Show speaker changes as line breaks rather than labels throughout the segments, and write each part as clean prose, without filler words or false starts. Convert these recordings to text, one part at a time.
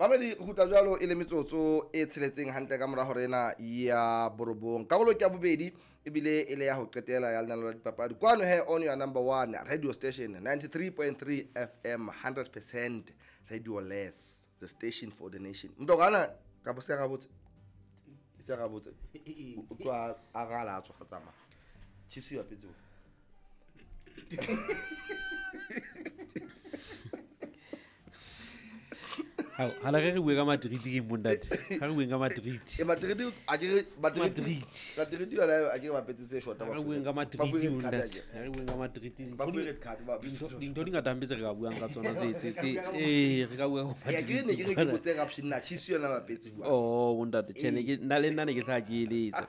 Mamedi re kgutla jwalo e le metsotso e tsheletseng hantle ka mora hore ena ya borobong. Karolo ke ya bobedi ebile e le ya ho qetela ya lenaneo la dipapadi. Kwano he on your number one radio station 93.3 FM 100% radio less the station for the nation. Mntokana ka bo se ga botse. Se ga botse. O tloha a gala a tswa go tsamaya. Chiefs e bapetse bo.
Hao, hala re re bue ka Madrid ke eng bontate? Ha re bueng ka Madrid.
E Madrid a ke re Madrid.
Madrid.
Madrid yona a ke re bapetse tse short.
Ha re bueng ka Madrid
Ba fuwe red card
bontate.
akere.
Ha re bueng ka Madrid.
Ba fuwe red card ba
Dintho dintho di ngata hampe tse re ka buang ka tsona tse tse tse eh re ka bua ka
Ya ke ne ke re ke
Madrid.
botse corruption na Chiefs yona bapetse jwang.
Oh bontate, tjhe ne ke nna le nna ne ke hlaha ke eletsa.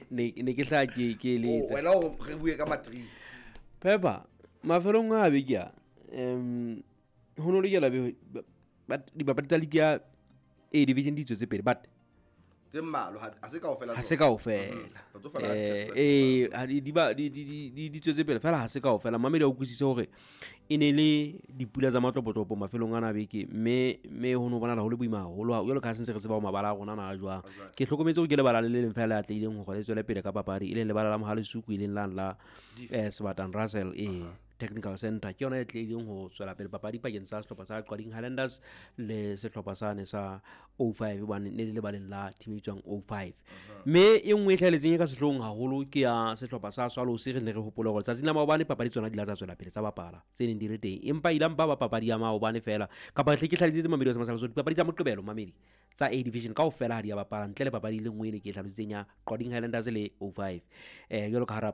Ne ke hlaha ke
Oh,
eletsa.
wena o re bue ka Madrid.
Pepper, mafelong a beke a ho no lokela be but dipapadi tsa league ya A division di tswetse pele but
Tse mmalwa ha se kaofela
ha se
tsona.
kaofela.
Re tlo fana ka dipapadi.
Ha di ba di tswetse pele fela ha se kaofela. Mamedi a utlwisise hore e ne le dipula tsa matlopotlopo mafelong ana a beke mme ho no bonahala ho le boima haholo jwalo ka ha se ntse re tseba ho mabala a rona na a jwang. Ke hlokometse hore ke lebala le le leng fela le atlehileng hore le tswele pele ka papadi e leng lebala la Mohalesuku e leng lane la Sebatang Russell e Technical Center. Ke yona e tlileng ho tswela pele papadi pakeng tsa sehlopha sa Qwading Highlanders le sehlopha sane sa 05 hobane ne le lebaleng la team e bitswang 05. Mme e nngwe e hlahelletseng e ka sehloohong haholo ke ya sehlopha sa Swallows. Re ne re hopola hore tsatsing la maobane papadi tsona di la tsa tswela pele tsa bapala tse neng di le teng, empa ile mpa ba papadi ya maobane fela kapa hle ke hlalositse Mamedi wa Semasala dipapadi tsa Moqebelo Mamedi tsa A division kaofela ha di a bapala ntle le papadi e le nngwe e ne ke e hlalositseng ya Qwading Highlanders le 05 jwalo ka hara